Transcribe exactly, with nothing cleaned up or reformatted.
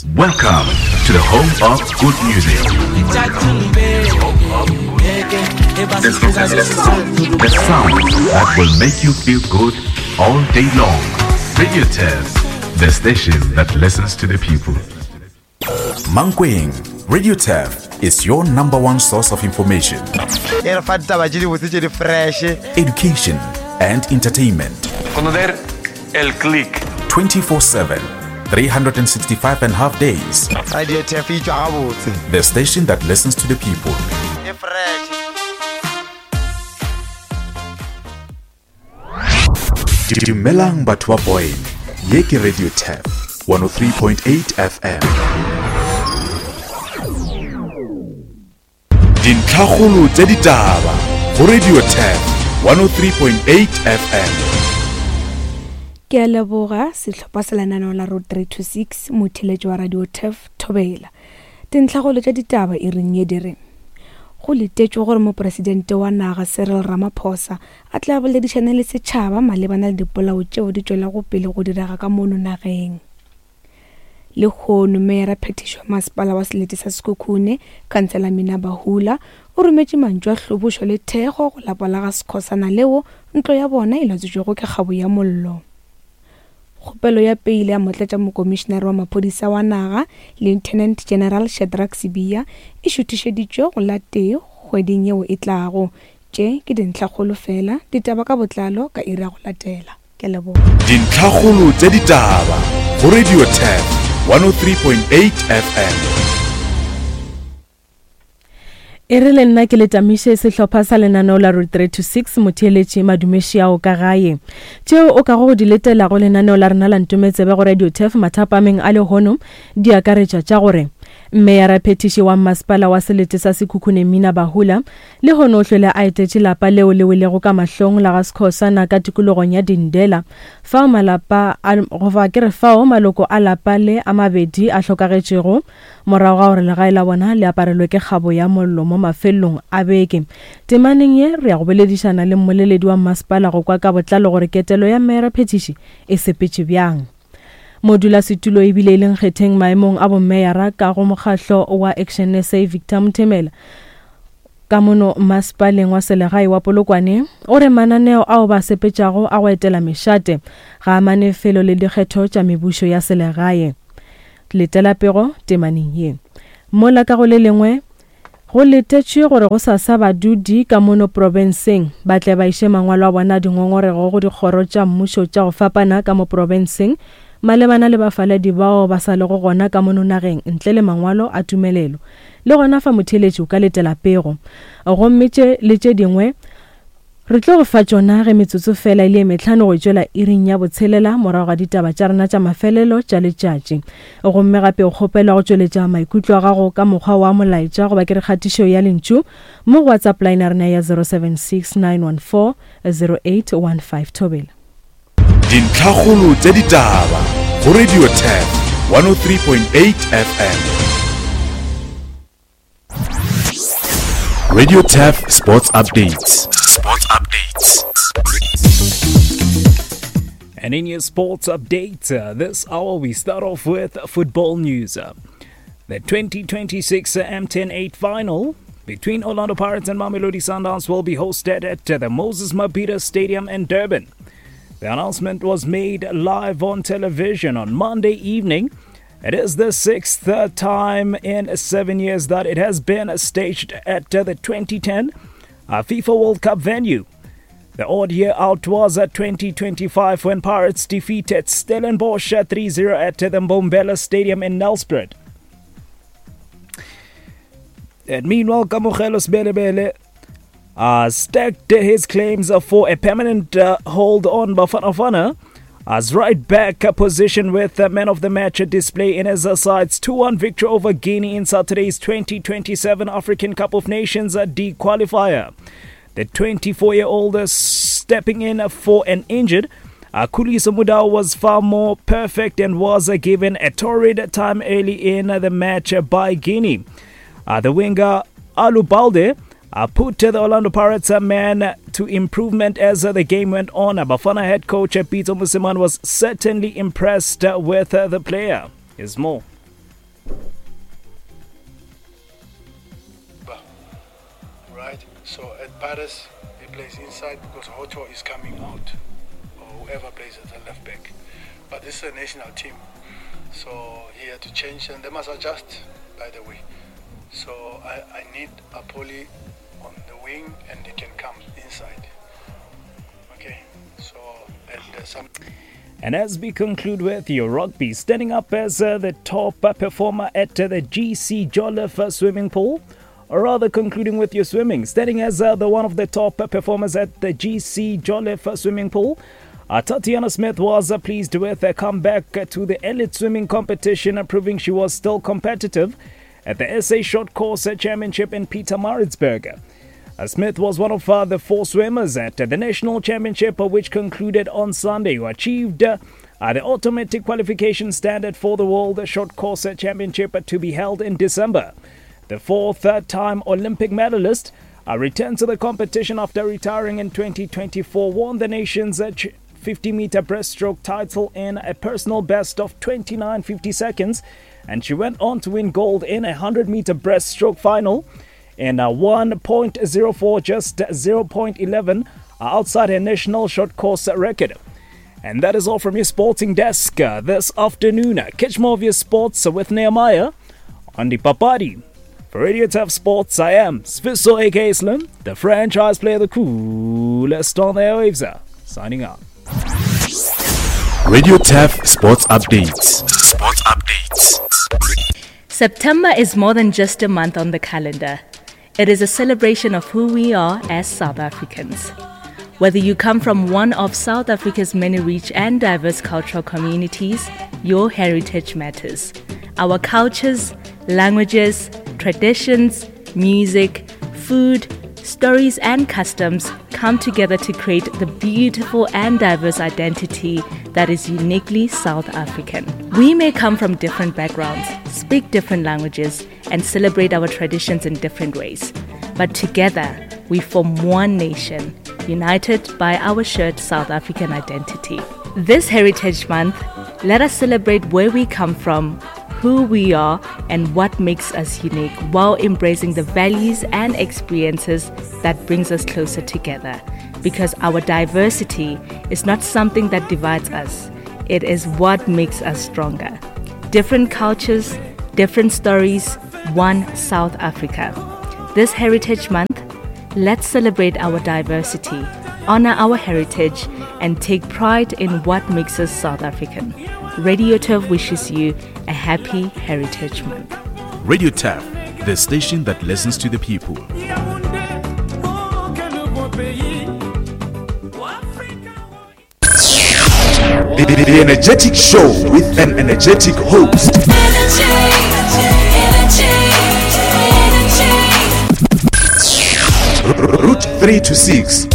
Welcome to the home of good music. The sound that will make you feel good all day long. Radio Tef, the station that listens to the people. Mankweng, Radio Tef is your number one source of information, e re fa ditaba tše dibotse tše di fresh education, and entertainment. Conocer el click. twenty-four seven, three hundred sixty-five and a half days. Radio Tef e tšwa gabotse. The station that listens to the people. E fresh. Dumelang batho ba Boyne. Ye ke Radio Tef one oh three point eight F M. Dintlhakgolo tša ditaba go Radio Tef one oh three point eight F M. Ke a leboga sehlopha sa lenaneo la Road three two six motheletši wa Radio Tef Thobela. Dintlhakgolo tša ditaba e reng ye di re go letetšwe gore mopresidente wa naga Cyril Ramaphosa a tla boledišana le setšhaba malebana le dipolao tšeo di tšwelago pele go direga ka mono nageng. Lehono meyara phetišo wa masepala wa selete sa Sekhukhune, Khansela Mina Bahula, o rometše mantšu a hlobošo le thekgo go lapa la ga Skhosana leo ntlo ya bona e latswetšwego ke kgabo ya mollo. Kgopelo ya peile ya motlatšamokomišenare wa maphodisa wa naga, Lieutenant General Shadrack Sibiya, e šuthišeditšwe go la tee kgweding yeo e tlago. Tše ke dintlhakgolo fela, ditaba ka botlalo ka iri ya go latela. Ke a leboga. Dintlhakgolo tša ditaba go Radio Tef one oh three point eight F M. E re le nna ke le tamiše sehlopha sa lenaneo la Road three two six motheeletši madumeši ao ka gae. Tšeo o kago go di letela go lenaneo la rena la Ntometsebe go Radio Tef mathapameng a lehono di akaretša tša gore meyara phetiši wa masepala wa selete sa Sekhukhune Mina Bahula lehono o hlwele a etetše lapa leo le welego ka mahlong la ga Skhosana ka tikologong ya Dindela fao malapa a goba ke re fao maloko a lapa le a mabedi a hlokagetšego morago ga gore legae la bona le aparelwe ke kgabo ya mollo mo mafelong a beke. Temaneng ye re ya go boledišana le mmoleledi wa masepala go kwa ka botlalo gore ketelo ya meyara phetiši e sepetše bjang. Modulasetulo ebile e leng kgetheng maemong a bommeyara ka go mokgahlo wa Action S A Victor Mothemela ka mono masepaleng wa selegae wa Polokwane o re mananeo ao ba sepetšago a go etela mešate ga a mane felo le dikgetho tša mebušo ya selegae. Letela pego temaneng ye. Mola ka go le lengwe go letetšwe gore go sasa badudi ka mono profenseng ba tle ba iše mangwalo a bona dingongorego go dikgoro tša mmušo tša go fapana ka mo profenseng malebana le bafaladi bao ba sa lego gona ka mono nageng ntle le mangwalo a tumelelo. Le gona fa motheeletši o ka letela pego. Gomme tše le tše dingwe re tlo go fa tšona ge metsotso fela e le metlhano go tšwela iring ya botshelela morago ga ditaba tša rena tša mafelelo tša letšatši. Gomme gape o kgopelwa go tšweletša maikutlo a gago ka mokgwa wa molaetša goba ke re kgatišo ya lentšu mo go WhatsApp line ya rena ya zero seven six nine one four zero eight one five. Thobela. Dintlhakgolo tša ditaba go Radio Tef one oh three point eight F M. Radio Tef Sports Updates. Sports Updates. And in your sports update, uh, this hour we start off with football news. Uh, the twenty twenty-six M ten eight final between Orlando Pirates and Mamelodi Sundowns will be hosted at the Moses Mabhida Stadium in Durban. The announcement was made live on television on Monday evening. It is the sixth time in seven years that it has been staged at the twenty ten FIFA World Cup venue. The odd year out was at twenty twenty-five when Pirates defeated Stellenbosch three zero at the Mbombela Stadium in Nelspruit. And meanwhile, Kamogelo Sebelebele Uh, stacked his claims for a permanent uh, hold on Bafana Bafana as right back position with the man of the match display in his side's two one victory over Guinea in Saturday's twenty twenty-seven African Cup of Nations D qualifier. The twenty-four-year-old stepping in for an injured uh, Khuliso Mudau was far more perfect and was uh, given a torrid time early in the match by Guinea. Uh, the winger Alu Balde Uh, put the Orlando Pirates a man to improvement as uh, the game went on. Bafana head coach uh, Pitso Mosimane was certainly impressed uh, with uh, the player. Here's more. So at Paris, he plays inside because Hotto is coming out, or whoever plays at the left back. But this is a national team, so he had to change, and they must adjust, by the way. So I, I need Appollis on the wing, and he can come inside. Okay, so and uh, some. And as we conclude with your rugby, standing up as uh, the top uh, performer at uh, the G C Jolliffe uh, swimming pool, or rather concluding with your swimming, standing as uh, the one of the top uh, performers at the G C Jolliffe uh, swimming pool, uh, Tatiana Smith was uh, pleased with a comeback uh, to the elite swimming competition, uh, proving she was still competitive at the S A Short Course Championship in Pietermaritzburg. Uh, Smith was one of uh, the four swimmers at uh, the National Championship, uh, which concluded on Sunday, who achieved uh, uh, the automatic qualification standard for the World Short Course Championship uh, to be held in December. The fourth-time Olympic medalist uh, returned to the competition after retiring in twenty twenty-four, won the nation's uh, fifty-meter breaststroke title in a personal best of twenty-nine fifty seconds, and she went on to win gold in a hundred-meter breaststroke final in a one point zero four, just zero point eleven outside her national short course record. And that is all from your sporting desk, uh, this afternoon. Catch more of your sports with Nehemiah on the Papadi. For Radio Turf Sports, I am Sviso A K Slim, the franchise player, the coolest on the airwaves, signing out. Radio Turf Sports Updates. Sports Updates. September is more than just a month on the calendar. It is a celebration of who we are as South Africans. Whether you come from one of South Africa's many rich and diverse cultural communities, your heritage matters. Our cultures, languages, traditions, music, food, stories and customs come together to create the beautiful and diverse identity that is uniquely South African. We may come from different backgrounds, speak different languages, and celebrate our traditions in different ways. But together, we form one nation, united by our shared South African identity. This Heritage Month, let us celebrate where we come from, who we are, and what makes us unique, while embracing the values and experiences that brings us closer together. Because our diversity is not something that divides us, it is what makes us stronger. Different cultures, different stories, one South Africa. This Heritage Month, let's celebrate our diversity, honor our heritage, and take pride in what makes us South African. Radio Turf wishes you a happy Heritage Month. Radio Turf, the station that listens to the people. The, the, the energetic show with an energetic host. Energy, energy, energy. Route three to six.